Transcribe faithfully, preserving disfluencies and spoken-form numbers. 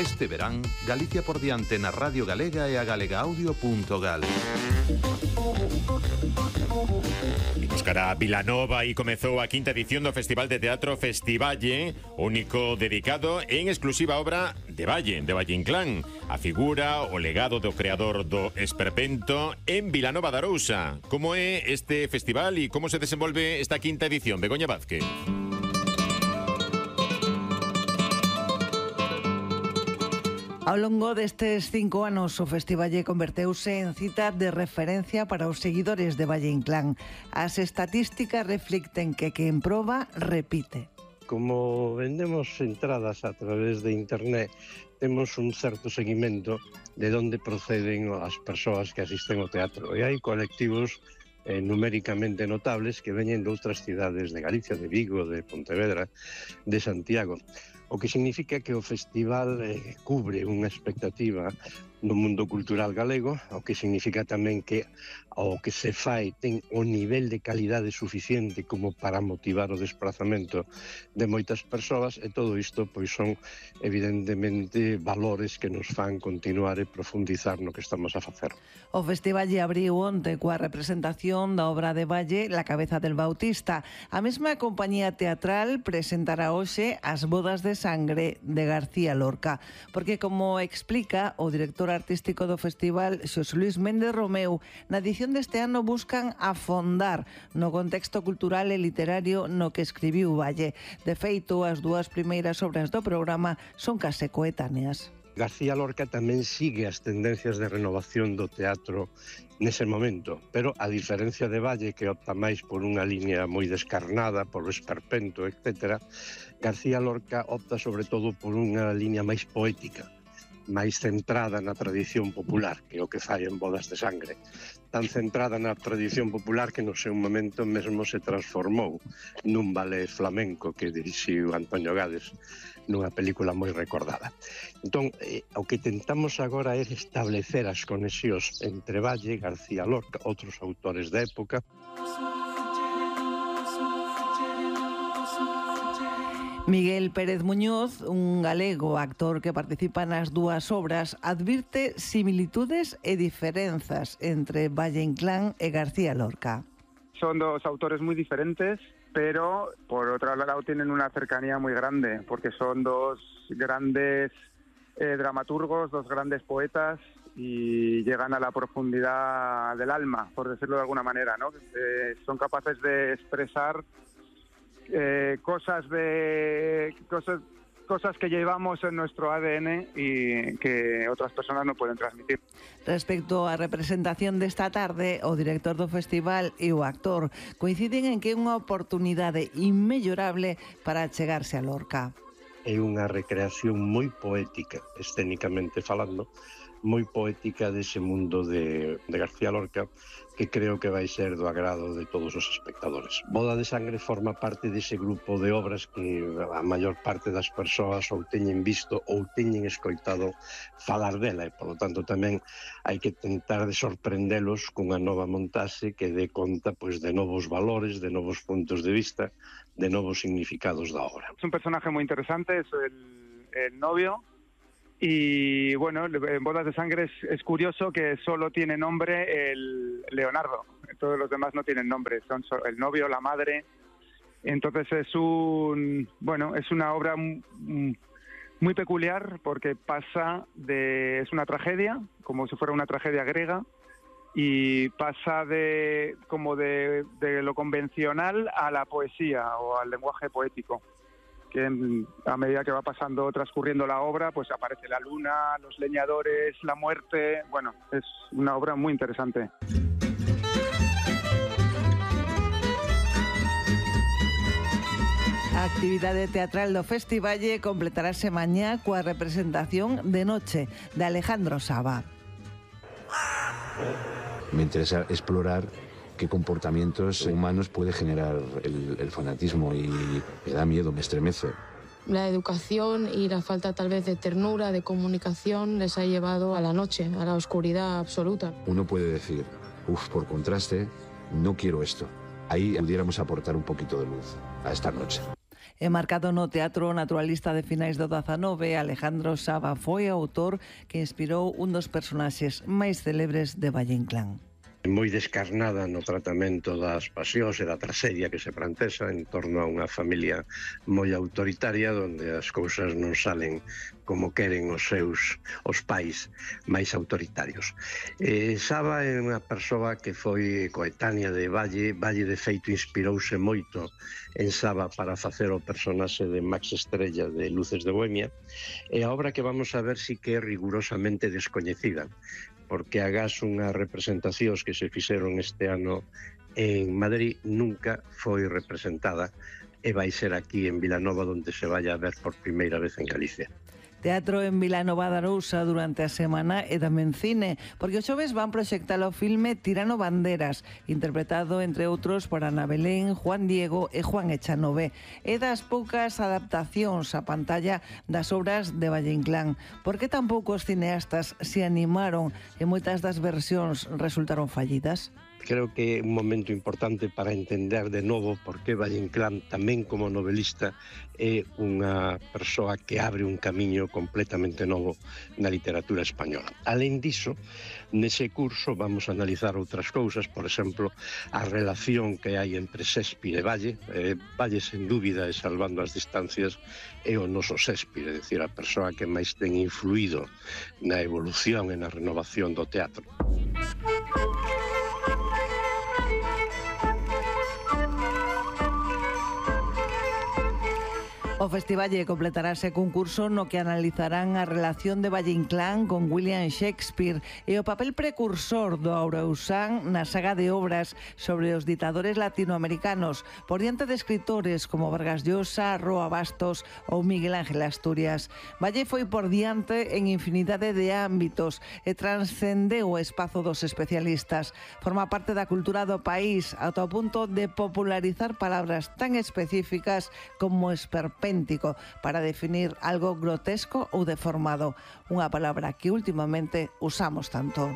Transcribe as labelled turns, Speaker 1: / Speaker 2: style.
Speaker 1: Este verán, Galicia por diante na Radio Galega e a galegaaudio punto gal.
Speaker 2: Imos cara a Vilanova e comezou a quinta edición do Festival de Teatro Festivalle, único dedicado en exclusiva obra de Valle, de Valle Inclán, a figura, o legado do creador do esperpento en Vilanova de Arousa. Como é este festival e como se desenvolve esta quinta edición? Begoña Vázquez.
Speaker 3: Ao longo destes cinco anos, o Festivalle converteuse en cita de referencia para os seguidores de Valle Inclán. As estatísticas reflicten que quen proba, repite.
Speaker 4: Como vendemos entradas a través de internet, temos un certo seguimento de onde proceden as persoas que asisten ao teatro. E hai colectivos eh, numéricamente notables que veñen de outras cidades de Galicia, de Vigo, de Pontevedra, de Santiago. O que significa que o festival eh, cubre unha expectativa no mundo cultural galego, o que significa tamén que o que se fai ten o nivel de calidade suficiente como para motivar o desplazamento de moitas persoas, e todo isto pois son evidentemente valores que nos fan continuar e profundizar no que estamos a facer.
Speaker 3: O festival lle abriu onte coa representación da obra de Valle, La cabeza del Bautista. A mesma compañía teatral presentará hoxe As bodas de sangre de García Lorca, porque como explica o director artístico do festival, Xosé Luis Méndez Romeu, na edición deste ano buscan afondar no contexto cultural e literario no que escribiu Valle. De feito, as dúas primeiras obras do programa son case coetáneas.
Speaker 4: García Lorca tamén sigue as tendencias de renovación do teatro nese momento, pero a diferencia de Valle, que opta máis por unha liña moi descarnada, por o esperpento, etcétera, García Lorca opta sobre todo por unha liña máis poética, máis centrada na tradición popular, que é o que fai en Bodas de Sangre. Tan centrada na tradición popular que no seu momento mesmo se transformou nun ballet flamenco que dirixiu Antonio Gades nunha película moi recordada. Entón, eh, o que tentamos agora é establecer as conexións entre Valle, García Lorca, outros autores da época.
Speaker 3: Miguel Pérez Muñoz, un galego actor que participa nas dúas obras, advirte similitudes e diferenzas entre Valle Inclán e García Lorca.
Speaker 5: Son dos autores muy diferentes, pero por otro lado tienen una cercanía muy grande, porque son dos grandes eh, dramaturgos, dos grandes poetas, y llegan a la profundidad del alma, por decirlo de alguna manera, ¿no? Eh, son capaces de expresar Eh, cosas de cosas cosas que llevamos en nuestro A D N y que otras personas no pueden transmitir.
Speaker 3: Respecto á representación desta tarde, o director do festival e o actor coinciden en que é unha oportunidade inmellorable para chegarse a Lorca.
Speaker 4: É unha recreación moi poética, escénicamente falando, moi poética dese mundo de, de García Lorca, que creo que vai ser do agrado de todos os espectadores. Boda de Sangre forma parte dese grupo de obras que a maior parte das persoas ou teñen visto ou teñen escoitado falar dela, e, polo tanto, tamén hai que tentar de sorprendelos cunha nova montaxe que dé conta pois, de novos valores, de novos puntos de vista, de novos significados da obra.
Speaker 5: Es un personaje muy interesante, es el, el novio. Y bueno, en Bodas de Sangre es, es curioso que solo tiene nombre el Leonardo, todos los demás no tienen nombre, son el novio, la madre. Entonces es un bueno, es una obra muy peculiar porque pasa de es una tragedia, como si fuera una tragedia griega, y pasa de como de, de lo convencional a la poesía o al lenguaje poético, que a medida que va pasando, transcurriendo la obra, pues aparece la luna, los leñadores, la muerte. Bueno, es una obra muy interesante.
Speaker 3: A actividade teatral do Festivalle completarase mañá coa representación de Noche, de Alejandro Saba.
Speaker 6: Me interesa explorar qué comportamientos humanos puede generar el, el fanatismo, y me da miedo, me estremece.
Speaker 7: La educación y la falta tal vez de ternura, de comunicación, les ha llevado a la noche, a la oscuridad absoluta.
Speaker 6: Uno puede decir, uff, por contraste, no quiero esto. Ahí pudiéramos aportar un poquito de luz a esta noche.
Speaker 3: Enmarcado no teatro naturalista de finais do dezanove, Alejandro Saba foi o autor que inspirou un dos personaxes máis célebres de Valle Inclán.
Speaker 4: Moi descarnada no tratamento das pasións e da traxedia que se plantesa en torno a unha familia moi autoritaria onde as cousas non salen como queren os seus os pais máis autoritarios. Eh, Saba é unha persoa que foi coetánea de Valle. Valle, de feito, inspirouse moito en Saba para facer o personaxe de Max Estrella de Luces de Bohemia, e a obra que vamos a ver sí que é rigurosamente descoñecida, porque agás unhas representacións que se fixeron este ano en Madrid nunca foi representada e vai ser aquí en Vilanova onde se vai a ver por primeira vez en Galicia.
Speaker 3: Teatro en Vilanova de Arousa durante a semana e tamén cine, porque os xoves van proxectar o filme Tirano Banderas, interpretado, entre outros, por Ana Belén, Juan Diego e Juan Echanove. É das poucas adaptacións á pantalla das obras de Valle Inclán. Por que tan poucos cineastas se animaron e moitas das versións resultaron fallidas?
Speaker 4: Creo que é un momento importante para entender de novo por que Valle Inclán, tamén como novelista, é unha persoa que abre un camiño completamente novo na literatura española. Alén diso, nese curso vamos a analizar outras cousas, por exemplo, a relación que hai entre Shakespeare e Valle. Eh, Valle, sen dúbida, e salvando as distancias, é o noso Shakespeare, é dicir, a persoa que máis ten influído na evolución e na renovación do teatro.
Speaker 3: O festival completará ese concurso no que analizarán a relación de Valle Inclán con William Shakespeare e o papel precursor do Arousán na saga de obras sobre os ditadores latinoamericanos por diante de escritores como Vargas Llosa, Roa Bastos ou Miguel Ángel Asturias. Valle foi por diante en infinidade de ámbitos e transcendeu o espazo dos especialistas. Forma parte da cultura do país ata o punto de popularizar palabras tan específicas como esperpéntico para definir algo grotesco ou deformado, unha palabra que últimamente usamos tanto.